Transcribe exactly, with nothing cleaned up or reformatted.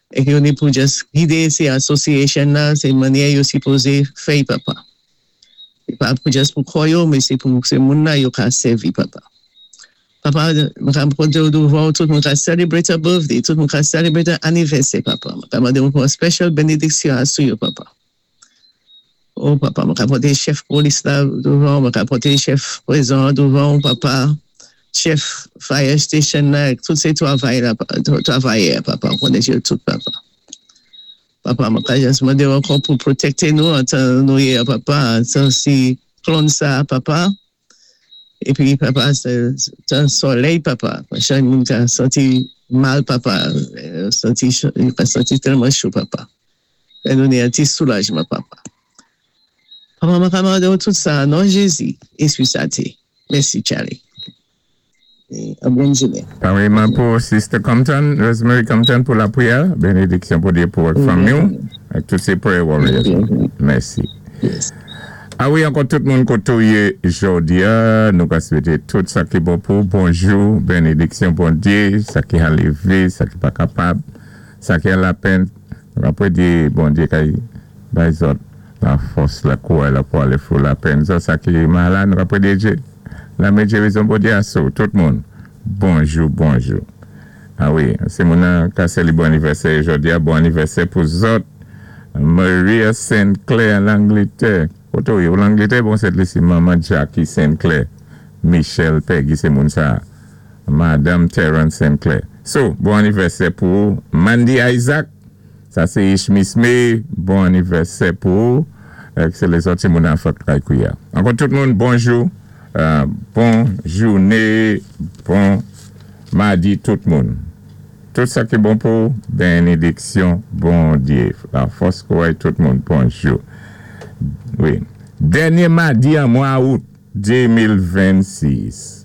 É yo ni pou just gidé sé association la, sé mannyè yo sipozé fè, papa. É pa pou just pou kò yo, mé sé pou sé moun la yo ka sèvi, papa. Papa, mwen ka pwénté ou douvan tout moun ka celebrate a birthday, tout moun ka celebrate a anniversaire, papa. Mwen ka mandé ou pou an special bénédiction asou yo, papa. Oh, papa, mwen ka pwénté chèf polis la douvan, mwen ka pwénté chèf pwizon douvan, papa. Chèf fire station la, tout sé twavay la, twavayè, papa, konnen yo tout, papa. Papa, mwen ka just mandé ou ankò pou pwotékté nou antan nou yé, papa, antan siklòn sa, papa. Épi, papa, sé tan solèy, papa. Chak moun ka santi mal, papa. Santi, ka santi tèlman cho, papa. Fè nou ni an ti soulajman, papa. Papa, mwen ka mandé ou tout sa, non Jézi, Éspwi Senti. Mèsi, Charlie. É bòn jounen. Pareillement pour Sister Compton, Rosemary Compton, pour la prière. Bénédiction pour Dieu pour votre famille. Avec tous ces prayer warriors. Merci. Yes. Ah wi, ankò tout moun koté ou yé jòdi a, nou ka swété tout sa ki bon pou bonjou, bénédiksyon Bondyé, sa ki an lévé, sa ki pa kapab, sa ki an lapenn. Nou ka pwédé Bondyé kay bay zòt la fòs, la kouway la pou alé fou lapenn. Zòt sa ki malad, nou ka pwédé Djé. La men gérizon Bondyé asou, tout moun. Bonjou, bonjou. Ah wi, sé moun nan ka sé li bon anivèsè jòdi a, bon anivèsè pou zòt. Maria Saint Clair an Angletè. Koto yo, l'Angleterre, bon, c'est ici maman Jackie Saint Clair. Michel Peggy, sé moun sa. Madame Terence Saint Clair. So, bon anivèsè pou Mandy Isaac. Sa sé Ishmis May. Bon anivèsè pou sé lézòt ti moun an fèt kay kouya. Ankò tout moun, bonjou. Euh, bon jounen, bon madi tout moun. Tout sa ki bon pou bénédiksyon, Bondyé. La fòs kouway tout moun, bonjou. Wi. Dènyé madi an mwa out de mil vennsis.